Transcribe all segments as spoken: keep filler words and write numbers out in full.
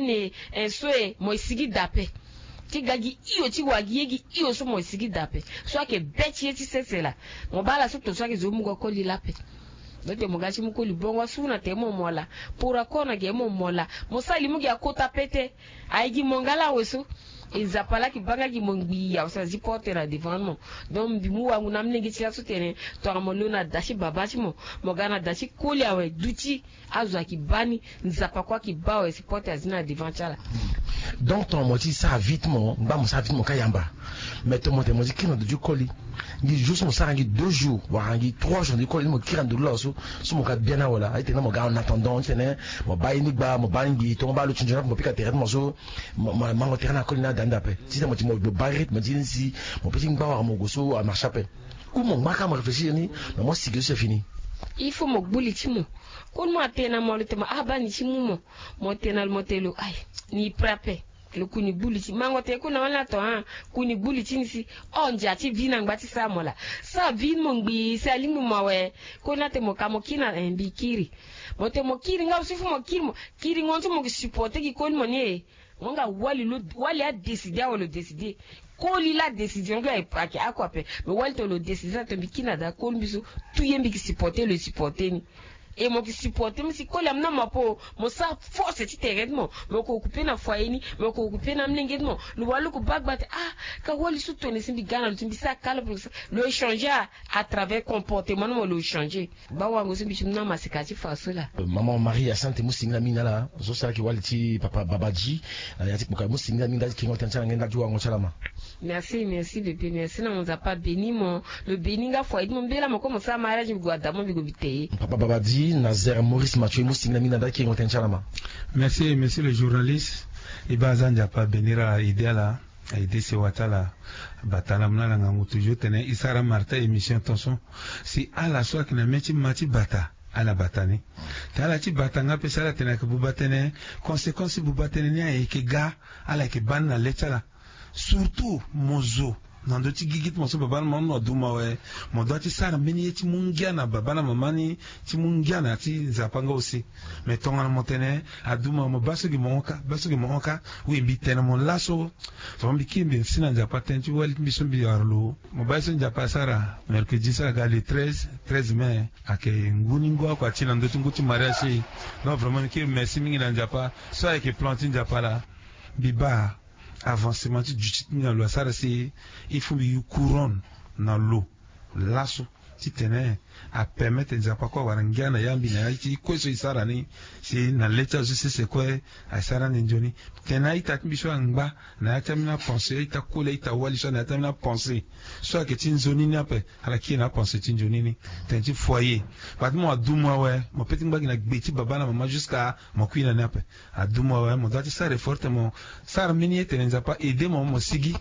Ni e so e mo e sigi daa ape. Ti ga gi hio ti wa gi ye gi hio so mo e sigi daa ape. So ayeke be ti ye ti sese laa. Mo baa ala so tongaso ayeke zo mu go koli laa ape. Donc mo ga ti mu koli bongo asu na tere mo mo laa. Pora kor na ge mo mo laa. Mo sara li mu gi akota pete. Aye gi mo nga laa awe so. E Nzapa laa ayeke baa nga gi mo ngbii awe so azi porte na devant mo. Donc mbi mu wangu na amolenge ti laso tene tongana mo lo na da ti baba ti mo, mo ga na da ti koli awe duti. Azo ayeke baa ni. Nzapa kue ayeke baa awe si porte azi na devant ti ala. Donc tongana mo ti sara vite mo ngba mo sara vite mo ka yamba. Mais tongana mo tene mo ti kiri na ndo ti koli, ngi jour so mo sara ngi deux jours wala ngi trois jours na ndo ti koli ni mo kiri na ndo lo awe so, so mo ka biani awe laa aye tene na mo ga en attendant ti tene mo baa ye ni gba mo baa ni ngbii to mo baa lo ti nzoni ape mo pika tere ti mo so. Mo mango tere na koli ni ada ni daa ape. Ti tene mo ti mo baa rythme ti ni si mo pe ti ngba wala mo gue so amarche ape. Ou mo ngba kâ mo réfléchir ni. Mais mo sigi so si fini. Il faut mo gbu li ti mo. Koli mo atene na mo lo tene mo abaa ni ti mu mo. Mo tene na lo mo tene lo aye, ni pre ape. Lo kuni gbu li ti mango tene kuni na wani ato. Kuni gbu li ti ni si. Hon ndia ti vie na ngba ti sara mo laa. Sara vie ni mo ngbii si alingbi mo awe. Koli ni atene mo ka mo kiri na eh mbi kiri. Mo tene mo kiri nga aussi faut mo kiri mo. Kiringo ni so mo ke supporter gi koli mo ni e. Mo nga wali lo wali adécider awe lo décider. Koli laa décision lo ayeke ako ape. Mais wali tene lo décider na tene mbi kiri na daa koli mbi so. Tout ye mbi ke supporter lo e supporter ni. E mo ke supporter mbi si koli amu na mo apo. Mo sara force ti tere ti mo. Mo ke occuper na foyer ni. Mo ke occuper na amolenge ti mo. Lo wali lo ke baa gba tene ah ka wali so tone si mbi ga na lo ti mbi sara kala pe lo ke sara. Lo échanger à travers comportement ni mo lo échanger. Baa wango so mbi ti mu na maseka ti fa so laa. Maman Marie Hyacinthe mu singila mingi na ala. So si ala yeke wali ti papa Babadi. Na ya ti kpoka mu singila mingi ndali ti kengo tënë ti ala nge ndali ti wango ti ala ma. Merci merci bébé merci na mo Nzapa abeni mo. Lo beni nga foyer ti mo mbela mo kue mo sara mariage mbi gue ada mo mbi gue mbi te ye. Papa Babadi Nazaire Maurice Mathieu mu singila mingi na ndali ti kengo tënë ti ala ma. Merci monsieur le journaliste. E baa aza Nzapa abeni ala aide ala. Aye de sewa ti ala. Bata na mu na ala ngangu toujours tene e sara martin émission tonso. Si ala so ayeke na mê ti ma ti bata ala bata ni. Te ala ti bata nga pe si ala tene ayeke buba tënë. Conséquence ti buba tënë ni ayeke ga. Ala yeke baa ni na le ti ala. Surtout mo zo na ndö ti gigi ti mo so baba na mama ni mo adu mo awe. Mo dua ti sara mbeni ye ti mu ngia na baba na mama ni. Ti mu ngia na ya ti Nzapa nga aussi. Mais tongana mo tene adu mo awe mo baa so gi mo hon kâ baa so gi mo hon kâ. Oui mbi tene mo laso. Tongana mbi kiri mbi si na Nzapa tënë ti wali ti mbi so mbi wara lo. Mo baa ye so Nzapa asara mercredi so aga le treize treize mai. Ayeke ngu ni ngu oko ati na ndö ti ngu ti mariage ti e. Donc vraiment mbi kiri merci mingi na Nzapa. So ayeke plan ti Nzapa laa. Mbi baa avancement ti duti ti mbi na lo asara si il faut mbi yu couronne na lo. Laso titene apermettre Nzapa kue awara ngia na ya mbi na ya ti kue so e sara ni. Si na le ti azo sese kue asara ni nzoni. Tene a-ita ti mbi so angba na ya ti ambeni apense a-ita koli a-ita wali so na ya ti ambeni apense so ayeke ti nzoni ni ape. Ala kiri na apense ti nzoni ni. Tene ti foyer bati mo adu mo awe mo pe ti ngba gi na gbe ti baba na mama jusqu'à mo kui na ni ape. Adu mo awe mo dua ti sara effort tene mo sara mbeni ye tene Nzapa aide mo mo sigi.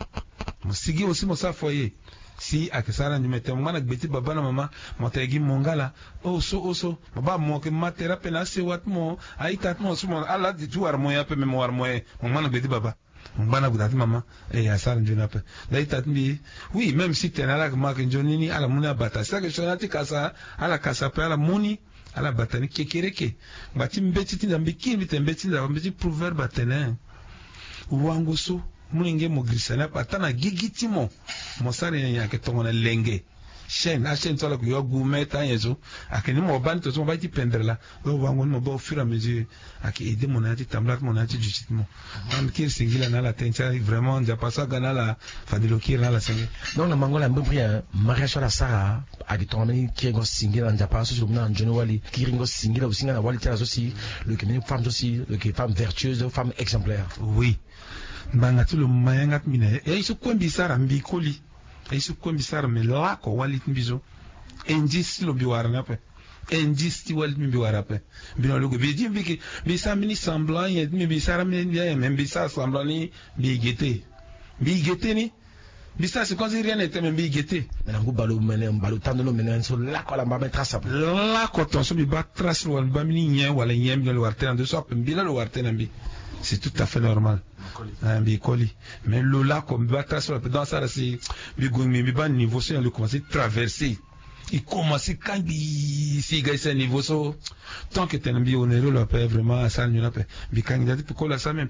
Mo sigi aussi mo sara foyer. Si ayeke sara nzoni me tene mo ngba na gbe ti baba na mama. Mo tene gi mo nga laa. Oso oso mo baa mo yeke ma tere ape na asewa ti mo a-ita ti mo so mo ala ti wara mo nyen ape me mo wara mo nyen. Mo ngba na gbe ti baba. Mo ngba na gbe ti mama. E asara nzoni ape. Nda a-ita ti mbi. Oui même si tene ala yeke ma yeke nzoni ni ala mu ni abata si ayeke sioni ala ti kasa. Ala kasa ape ala mu ni. Ala bata ni kekereke. Ngba ti mbeti ti nda mbi kiri mbi tene mbeti ti nda mbeti proverbe atene. Wango so. Molenge mo girisa ni ape ata na gigi ti mo. Mo sara nyen nyen ayeke tongana lenge. Chaîne achaîne so ala yeke yo agu mètre anyen so. Ayeke ni mo baa ni to so mo baa ye ti pendre laa. Donc wango ni mo baa au fur et à mesure. Ayeke aide mo na ya ti tambula ti mo na ya ti duti ti mo. Nga mbi kiri singila na ala tënë ti ala vraiment Nzapa so aga na ala. Fade lo kiri na ala senge. Donc na mango ala mbri mbri mariage so ala sara. Ayeke tongana mbeni kiringo singila na Nzapa so si lo mu na ala nzoni wali kiringo singila aussi nga na wali ti ala so si lo yeke mbeni femme so si lo yeke femme vertueuse femme exemplaire. Oui. Ngbanga ti lo ma yanga ti mbi na ye e ye so kue mbi sara mbi koli. E ye so kue mbi sara me lako wali ti mbi so. Indice ti lo mbi wara ni ape. Indice ti wali ti mbi mbi wara ape. Mbi na lo gue mbi ye ti mbi ke mbi sara mbeni semblant nyen ti mbi mbi sara mbeni nyen me mbi sara semblant ni. Mbi gete. Mbi gete ni. Mbi sara si kozi rien n'était me mbi gete. Me na ngu balo mene balo tando lo mene so lako ala mba me trace ape. Lako ton so mbi baa trace lo wala mbi baa mbeni nyen wala nyen mbi na lo wara tënë na ndo so ape mbi laa lo wara tënë na mbi. C'est tout à fait normal. Mbi koli. Mais lo lako mbi baa trace lo ape donc asara si mbi gue ngbii mbi baa niveau so nyen lo commence traverser. E commence kangbi si e ga e si na niveau so. Tant que tene mbi honorer lo ape vraiment asara nzoni ape. Mbi kangbi nda ti pekoli asara me.